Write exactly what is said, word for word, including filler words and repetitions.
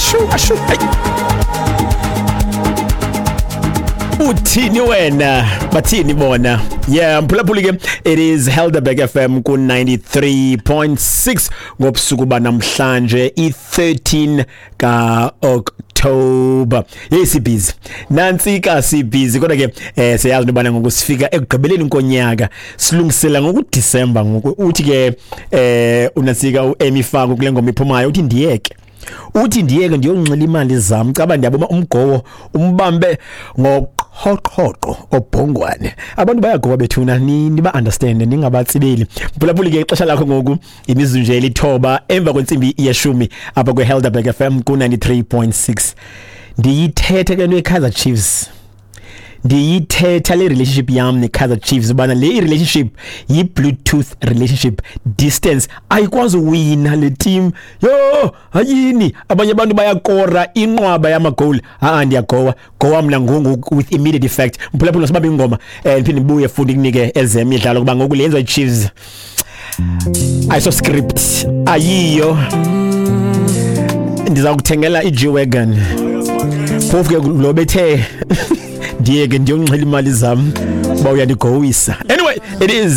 Ashu ashu, hey. Uthini wena, bathini bona? Yeah, mphulaphuli ke, it is Helderberg F M ku ninety-three point six ngobusuku banamhlanje, i thirteen ka October. Yes, busy nansi ka si busy, kodwa ke eh siyazi nobana ngoku sifika ekugqibeleni konyaka, silungisela ngoku December. Ngoku uthi ke eh unasika uEmi Faku kule ngoma iphumayo, uthi ndiyeke uthi ndiyeke ndiyonxila imali zam, caba ndiyabona umgowo umbambe ngoqhoqhoqo obhongwane. Abantu bayagowa bethuna, ni niba understand, ningabatsibeli. Mphulaphuli ke, ixesha lakho ngoku imizuzu nje elithoba emva kwentsimbi yeshumi apha kwe-Helderberg F M ku ninety-three point six. Ndiyithethe ke nto ye-Kaizer Chiefs, ndiyithetha le relationship yam ne-Kaizer Chiefs, ubana le relationship yi-Bluetooth relationship, distance ayikwazi uwina le team. Yho, hayini, abanye abantu bayakora inqwaba yamagowuli. Ha, ndiyagowa gowa mna ngongoku with immediate effect. Mphulaphula, sibambe ingoma um ndiphinde ndibuye futhi kunike ezemidlalo, kuba ngoku le yenziwa yi-Chiefs ayiso script, ayiyo. Ndiza kuthengela i-G-Wagon, phofu ke lo bethe ndiyeke ndiyonxila imali zam uba uyandigowisa. Anyway, it is